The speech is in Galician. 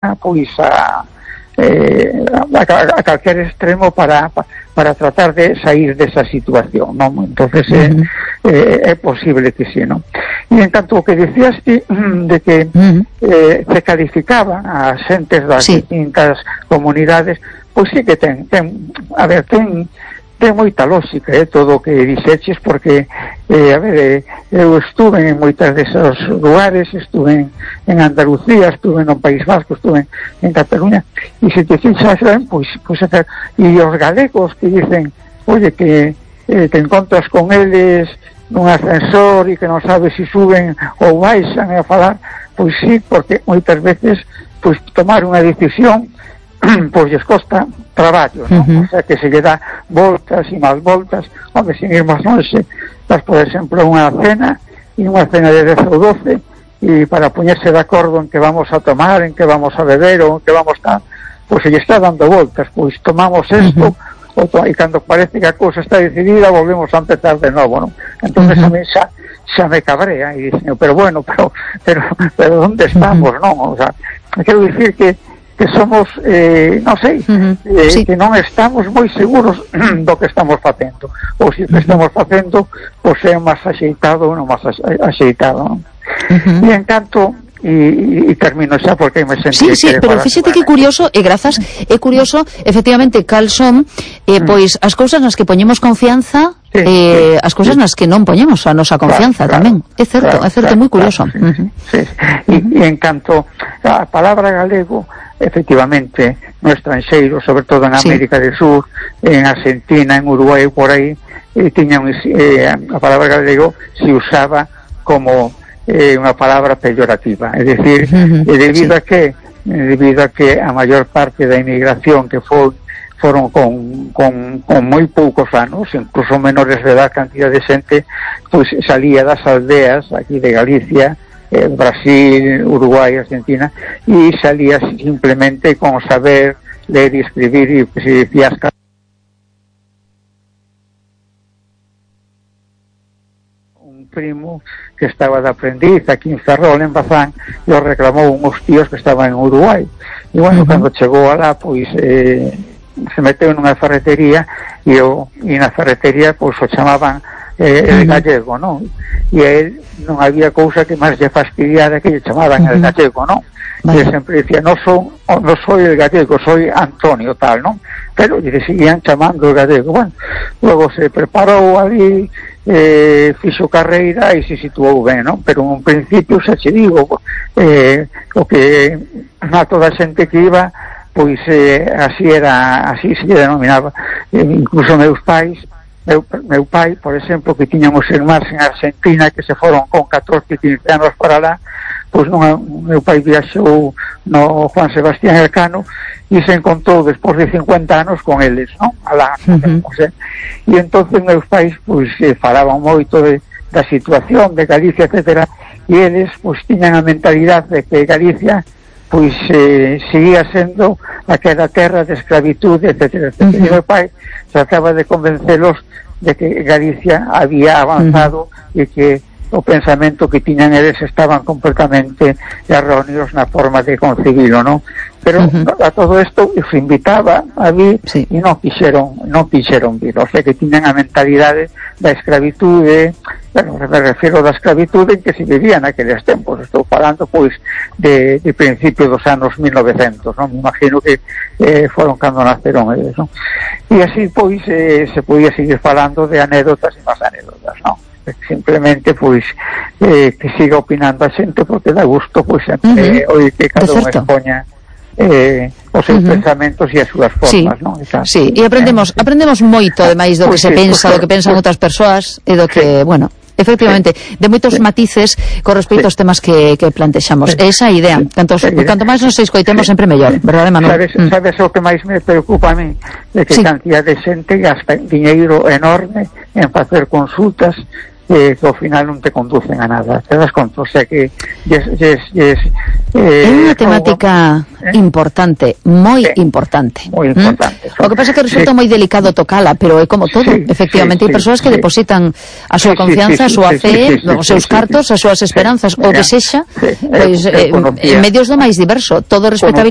pois a calquer extremo para tratar de sair desa situación, non? Entonces é posible que sí, non? E en canto ao que dicías ti, de que se calificaban a xentes das distintas comunidades, pois sí que ten moita lógica, todo o que dixeches, porque eu estuve en moitas desos lugares, estuve en Andalucía, estuve no País Vasco, estuve en Cataluña, e se te fixas ben, pois e os galegos que dicen, oye, que te encontras con eles nun ascensor e que non sabes se suben ou baixan a falar, pois sí, porque moitas veces pois tomar unha decisión pois lles costa traballo, non? O sea, que se lle dá voltas e máis voltas, onde sin ir máis longe, das, por exemplo, unha cena de 10 ou 12, e para poñerse de acordo en que vamos a tomar, en que vamos a beber ou en que vamos a... pois se lle está dando voltas, pois tomamos isto, e cando parece que a cousa está decidida, volvemos a empezar de novo, non? Entonces a mí xa me cabrea, e dicen, pero bueno, pero onde estamos, non? O sea, quero dicir que somos, non sei, que non estamos moi seguros do que estamos facendo, ou se o que estamos facendo pois é máis axeitado ou non máis axeitado, non? E en canto e termino xa porque me sentí pero fíxate que curioso, e grazas, é curioso efectivamente cal son pois as cousas nas que poñemos confianza, as cousas nas que non poñemos a nosa confianza tamén, é certo, moi curioso. E en canto a palabra galego, efectivamente, no estranxeiro, sobre todo en América del Sur, en Argentina, en Uruguai, por aí, a palabra galego se usaba como unha palabra peyorativa, é dicir, debido a que a maior parte da inmigración que foron con moi poucos anos, incluso menores de edad, cantidad de xente, pois salía das aldeas aquí de Galicia, Brasil, Uruguai, Argentina, e salía simplemente con saber leer e escribir, e se decía un primo que estaba de aprendiz aquí en Ferrol, en Bazán, e o reclamou uns tíos que estaban en Uruguai, e bueno, cando chegou alá, pois se meteu nunha ferretería, e na ferretería pois o chamaban el gallego, non? E a él non había cousa que máis lle fastidiara que lle chamaban el gallego, non? E sempre dicía, non soy el gallego, soy Antonio, tal, non? Pero lle seguían chamando el gallego. Bueno, logo se preparou ali, fixo carreira e se situou ben, non? Pero en un principio, xa che digo, o que a toda a xente que iba, pois así se denominaba. Incluso meus pais, meu pai, por exemplo, que tiñamos irmáns en Argentina que se foron con 14 e 15 anos para lá, pois meu pai viaxou no Juan Sebastián Elcano e se encontrou despois de 50 anos con eles, non? Alá, e entonces meus pais pois falaban moito da situación de Galicia, etcétera, e eles pois tiñan a mentalidade de que Galicia pois seguía sendo aquela terra de escravitude, etcétera, etcétera. E meu pai trataba de convencelos de que Galicia había avanzado e que o pensamento que tiñan eles estaban completamente erróneos na forma de concebilo, non? Pero a todo isto os invitaba a vir e non quixeron vir, o sea que tiñan a mentalidade da escravitude. Bueno, me refiero da escravitude en que se vivía naqueles tempos, estou falando pois de principio dos anos 1900, non? Me imagino que foron cando naceron eles, non? E así pois se podía seguir falando de anécdotas e máis anécdotas, non? Simplemente pois que siga opinando a xente, porque dá gusto pois sempre oír que cada un expoña os seus pensamentos e as súas formas, non? Sí, e aprendemos moito, ademais do que se pensa, do que pensan outras persoas, e do que, bueno, efectivamente, de moitos matices con respecto aos temas que plantexamos. Esa idea, canto máis nos escoitemos sempre mellor, verdade, Manuel? Sabes o que máis me preocupa a mí? De que cantidad de xente gasta diñeiro enorme en facer consultas que ao final non te conducen a nada, te das conta, o sea que é unha temática importante, moi importante. Moi importante. O que pasa é que resulta moi delicado tocala, pero é como todo, efectivamente, hai persoas que depositan a súa confianza, a súa fe, os seus cartos, as súas esperanzas, o que sexa, pois en medios do máis diverso, todo respetabilidade.